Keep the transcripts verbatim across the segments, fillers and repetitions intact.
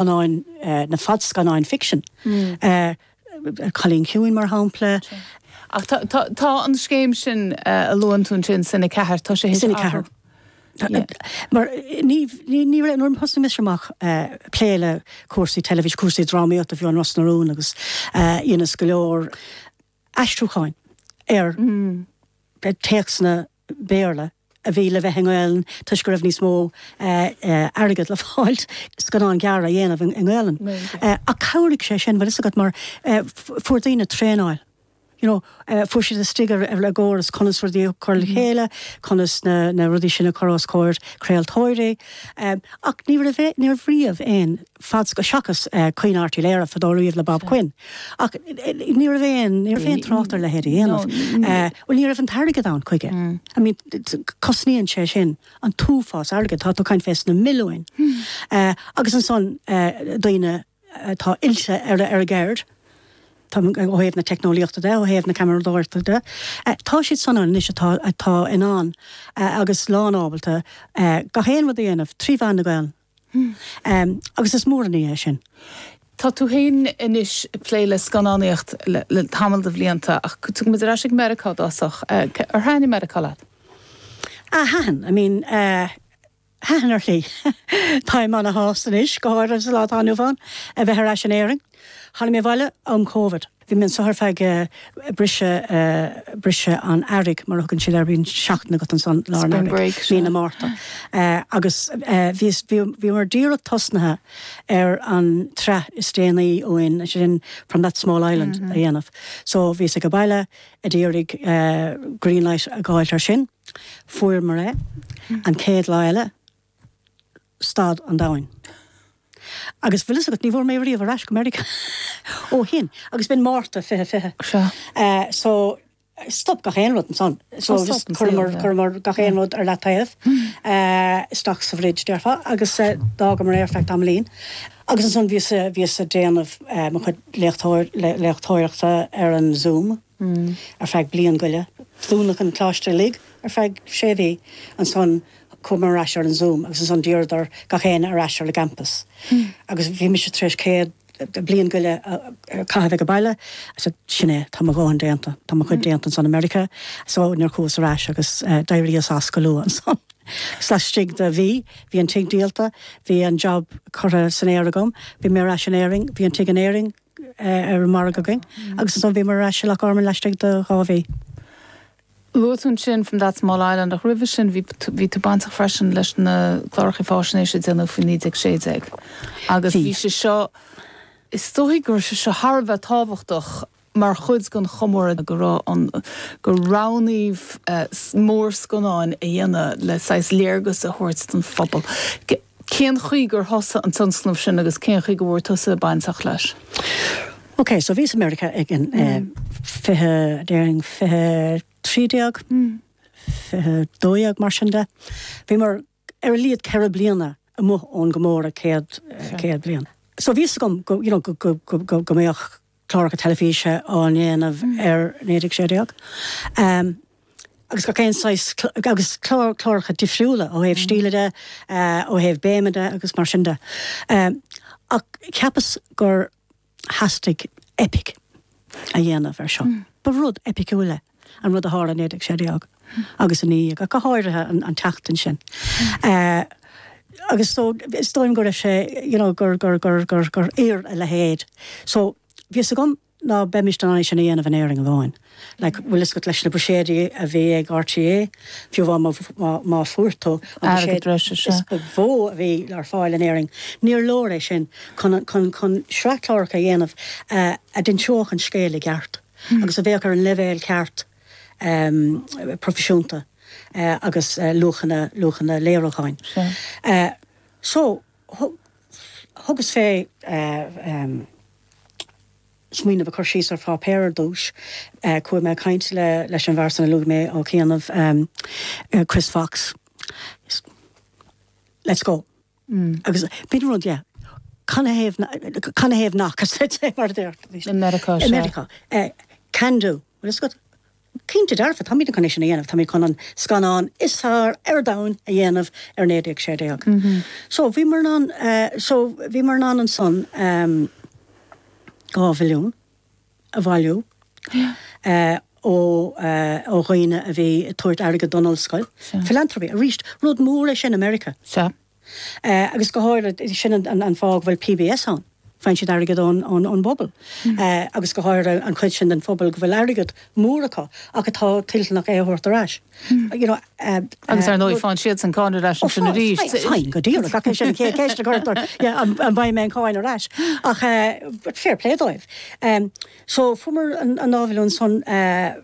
scannáin na fadscannáin fiction. Mm. Uh, Cailín Ciúin mar shampla. Ach tá an scéim sin a luann tú sin Cine Ceathair tá sé Cine Ceathair. Mar ní ní nuair thosaigh mise amach plé le cúrsaí teilifís cúrsaí drámaíochta bhí an Ros na Rún agus ionas go leor aistriúcháin ar mm. téacsanna Béarla a bhí le bheith i nGaelainn toisc go raibh níos mó airgead le fáil scannán gearr a dhéanamh i nGaelainn. A chabhraigh sé sin bhfuil agat mar fuair daoine traenáil. You know, uh, fuair siad istigh ar ar le gcóras conas rudaí a chur le mhm. chéile, conas na, na rudaí sin a chur os comhair craoltóirí. Um, ach ní raibh ní riamh aon fad go seachas uh, Caoineadh Airt Uí Laoire fadó riamh le Bob Quinn. Ach ní raibh aon ní raibh aon trácht ar leithéid a dhéanamh. Well ní raibh an t-airgead ann chuige. Mm. I mean, cosnaíonn sé sin an t-uafás airgead tá tú ag caint fés na milliúin. Mm. Uh, agus ansan uh, daoine atá oilte ar ar a gceird, ó thaobh na teicneolaíochta de ó thaobh na ceamaradóireachta de. Tá siad san anois atá atá in ann agus lánábalta gach aon rud a dhéanamh trí mheán na Gaeilge. Hmm. Um, agus is mór an ní é sin. Tá tú féin anois ag plé le scannánaíocht le, le tamall de bhlianta ach tugaimid ar ais ag Meiriceá dosach ar thaitin Meiriceá leat? Ah, thaitin, I mean, uh, thaitin ar shlí. Táim ana-shásta anois go háirithe sa lá atá inniu ann a bheith ar ais in Éirinn. Tháinig mé abhaile um Covid. Bhí mé anseo ar feadh briseadh briseadh an earraigh mar a thugann siad air bíonn seachtain agat ansan lár an earraigh, mí na Márta. Agus bhí bhíomar díreach tosnaithe ar an tsraith is déanaí uainn, sin From That Small Island a dhéanamh. So bhíos ag baile ag iarraidh greenlight a fháil ar sin. Fuaireamar é an chéad lá eile stad an domhain. Agus bhfuil agat ní bhfuair mé riamh ar ais go Meiriceá ó shin agus b'in Márta fiche fiche. Uh, so stop gach aon rud ansan. So chuireamar chuireamar gach aon rud ar leataobh uh, isteach sa bhfridge déarfá agus uh, d'fhágamar é ar feadh tamaillín. Agus ansan bhíos bhíos ag déanamh uh, mo chuid léachtóir léachtóireachta ar an Zoom mm. ar feadh bliain go leith. Dúnadh an coláiste uilig ar feadh sé mhí ansan chuamar ar ais ar an Zoom agus ansan d'iarradar gach aon ar ais ar an gcampus. Mm. Agus bhí mise tar éis céad bliain go leith caitheamh ag baile, so sin é tá mo dhóthain déanta, Tá mo chuid mm. déanta san America, so níor chuas ar ais agus uh, d'éiríos as go luath ansan. Laistigh de mhí, bhí an tigh díolta, bhí an job curtha san aer agam, bhí mé ar ais in Éirinn, bhí an tigh in Éirinn uh, ar an margadh againn, mm. agus ansan bhí mé ar ais i Loch Garman laistigh de dhá mhí. Luaigh tú sin From That Small Island ach roimhe sin bhí tú bainteach freisin leis na cláracha faisnéise a déanadh faoi naoi déag sé déag. Agus bhí sé seo is dóigh gur sé seo thar a bheith tábhachtach mar chuid den chomóradh go raibh an gur roghnaíodh uh, mórscannáin a dhéanamh le saghas léargas a thabhairt don phobal. Cén chaoi gur thosaigh an tionscnamh sin agus cén chaoi go bhfuil tusa bainteach leis? Ok, so bhíos i America ag an mm. fiche déarfainn fiche trí déag fiche dó dhéag mar sin de. Bhíomar ar a laghad ceithre bliana amuigh ón gcomóradh céad céad bliain. So bhí go go you know, go go go go go mbeadh cláracha teilifíse á ndéanamh mm. ar naoi déag sé déag. Um, agus go cén agus clár cláracha difriúla ó thaobh mm. stíle de uh, ó thaobh béime de agus mar sin de. Um, ach cheapas gur theastaigh epic a dhéanamh ar seo. Mm. Ba rud epiciúil é an rud a tharla naoi déag sé déag agus an ní go háirithe an, an tseachtain sin. Uh, agus so is dóigh go raibh sé you know, gur gur gur gur gur oir a leithéid. So bhí agam ná beimis an sin a dhéanamh in Éirinn amháin. Like, bhfuil fhios agat leis na buiséid a bhí ag RTÉ, fiú má má fuair tú is ba mhó a bhí ar fáil in Éirinn. Níor leor é sin chun chun chun sraith cláracha a dhéanamh uh, a d'inseodh an scéal i gceart. Mm. agus a bheadh ar an leibhéal ceart um, proifisiúnta uh, agus uh, luachanna luachanna léiriúcháin. Sure. Uh, so thugas fé uh, um, smaoineamh a chur síos ar pháipéar ar dtús uh, chuaigh mé caint le leis an bhfear san a luaigh mé ó chianaibh um, uh, Chris Fox. Let's go. Mm. Agus b'in rud yeah. Canathaobh nach mar In America America. Uh, can do. Well, it's got Cinnte dearfa, táimid chun é sin a dhéanamh, táimid chun an scannán is fearr ar domhan a dhéanamh ar naoi déag sé déag. So bhíomar in ann uh, so bhíomar in ann ansan um, dhá mhilliún a bhailiú uh, ó uh, ó dhaoine a bhí ag tabhairt airgead don ollscoil. Philanthropy, arís, rud mór é sin America. Sea. Uh, agus go háirithe sin an, an, an fáth go bhfuil P B S ann. Faigheann siad airgead ón, ón, ón bpobal. Mm. Uh, agus go háirithe an chuid sin den phobal go bhfuil airgead mór acu ach atá toilteanach é a thabhairt ar ais. Mm. You know, uh, Agus ar ndóigh faigheann siad an cáin ar ais sin arís. Fine, go díreach ach sin cé ceist a an bhfaighidh mé an cáin ar ais. Ach uh, but fair play dóibh. Um, so fuaireamar an, an dá mhilliún san uh,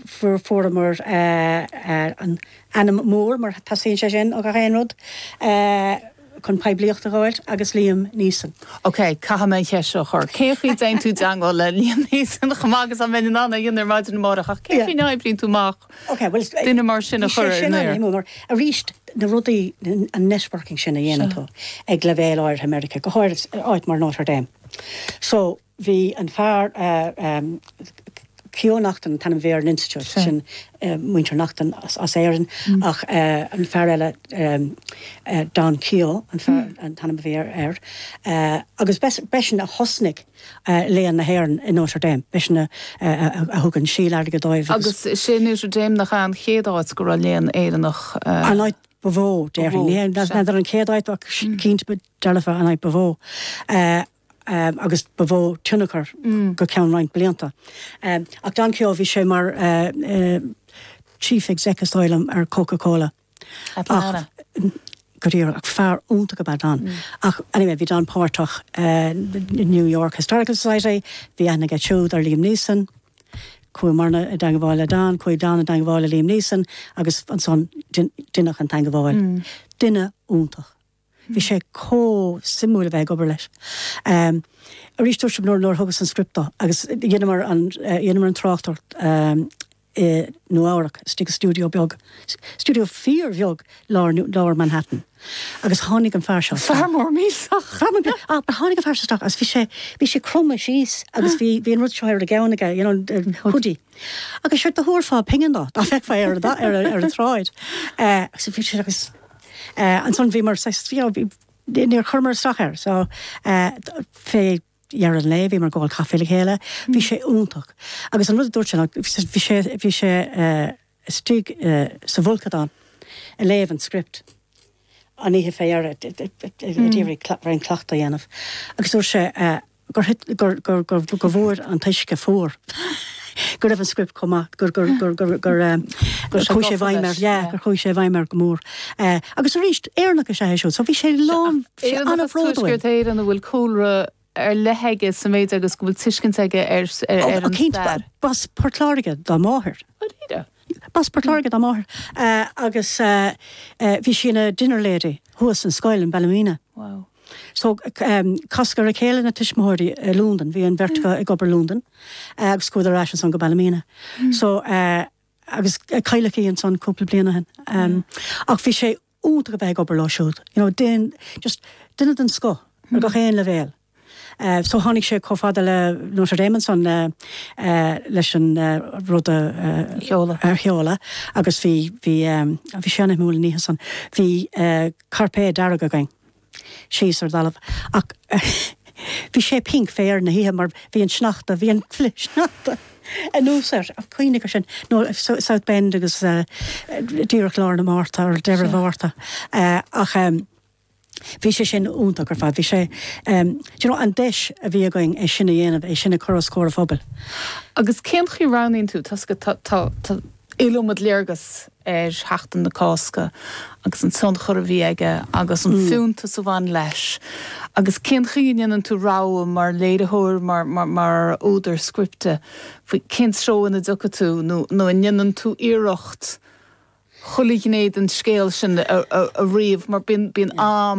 fuair fuaireamar uh, uh, an ainm mór mar teastaíonn sé sin ó gach aon rud uh, chun poiblíocht a fháil agus Liam Neeson. Ok, caithfidh mé ceist seo a chur. Cén chaoi dtéann tú i dteagmháil le Liam Neeson chomh maith agus a bheinn in ann a dhéanamh ar maidin amárach ach cén chaoi n-oibríonn tú amach Okay, well, duine mar sin a chur ar an aer? Mar arís na rudaí an networking sin a dhéanann tú ag leibhéal áirithe America, go háirithe áit mar Notre Dame. So bhí an fear uh, um, Keough Naughton an t-ainm a bhí ar an Institute sin uh, muintir Naughton as, as Éirinn mm. ach uh, an fear eile um, uh, Don Keough an fear mm. an t-ainm a bhí air air uh, agus b'eisean a thosnaigh uh, Léann na hÉireann in Notre Dame, b'eisean a, a, a thug an síol airgead dóibh. Agus sé Notre Dame nach an chéad áit go raibh léann Éireannach. Uh, an áit ba mhó déarfainn an chéad áit ach cinnte dearfa an áit ba mhó. Uh, um, agus ba mhó tionchar mm. go ceann roinnt blianta. Um, ach Don Keough bhí sé mar uh, uh, chief executive ar Coca-Cola. Atlanta. Go díreach ach fear iontach ab ea Don. Mm. Ach anyway, bhí Don páirteach uh, New York Historical Society, bhí aithne aige siúd ar Liam Neeson, chuamarna i dteagmháil le Don, chuaigh Don i dteagmháil le Liam Neeson agus ansan deineadh an teagmháil. Mm. Duine iontach. Bhí sé chomh suimiúil a bheith ag obair leis. Um, Arís dúirt nuair nuair thugas an script dó agus dheineamar an dheineamar an tráchtaireacht um, i Nua-Eabhrac istigh studio beag, studio fíorbheag lár lár Manhattan. Agus tháinig an fear seo. Fear mór millteach. Tháinig an fear seo agus bhí sé bhí sé cromtha síos agus bhí bhí an rud seo ar a gceann aige, you know, hoodie. Agus sé do thabharfá pingin dó, dá bhfeicfeá ar ar ar an tsráid. Uh, agus bhí sé agus uh, ansan bhí mar níor chuireamar isteach air, so uh, fé dheireadh an lae bhí mar ag ól caife le chéile, bhí sé iontach. Agus an rud dúirt sé bhí sé bhí sé uh, istigh uh, sa bhfolcadán ag léamh an script. An oíche fé d'iarraidh cleachtadh a dhéanamh. Agus dúirt sé uh, gur gur gur gur gur bhfuair an t-uisce fuar. Go raibh an script chomh maith gur gur gur gur gur gur chuaigh sé i bhfeidhm air gur chuaigh sé i bhfeidhm air go mór. Uh, agus arís Éireannach is ea é so bhí sé lán an-bhródúil. Éireann a bhfuil cúlra ar leith aige sa méid agus go bhfuil tuiscint aige ar ar an stair. B'as Port Láirge dá máthair. B'as Port Láirge dá máthair uh, agus uh, uh, bhí sí ina dinner lady thuas an scoil in Ballymena. Wow. So um, casadh ar a chéile na tuismitheoirí i London, bhí an bheirt mm. ag obair London uh, agus chuadar ar ais ansan go Ballymena. Mm. So uh, agus cailleadh í ansan cúpla bliain ó shin. Um, mm. Ach bhí sé iontach a bheith ag obair leo siúd. You know, den, just duine den scoth ar gach aon leibhéal. Uh, so tháinig sé chomh fada le Notre Dame ansan uh, uh, leis an uh, rud a uh, sheoladh agus bhí bhí um, bhí sé an-shuimiúil an oíche san bhí uh, cairpéad dearg againn síos ar talamh ach bhí sé pink fé na hithe mar bhí an sneachta bhí an flichshneachta anuas air a cuimhne sin nó South Bend agus uh, díreach lár na Márta ar deireadh Mhárta uh, ach um, Bhí sé sin iontach ar fad, bhí sé um, you know, an deis a bhí againn é sin a dhéanamh é sin a chur os comhair an phobail. Agus cén chaoi roghnaíonn tú tá tá iliomad léargas ar Sheachtain na Cásca agus an tionchar a bhí aige agus an mm. fiúntas a bhain leis. Agus cén chaoi a ndéanann tú rogha mar léiritheoir mar, mar, mar údar scripte faoi cén treo ina dtiocfaidh tú nó nó an ndéanann tú iarracht chuile ghné den scéal sin a, a, a ríomh mar bíonn bíonn am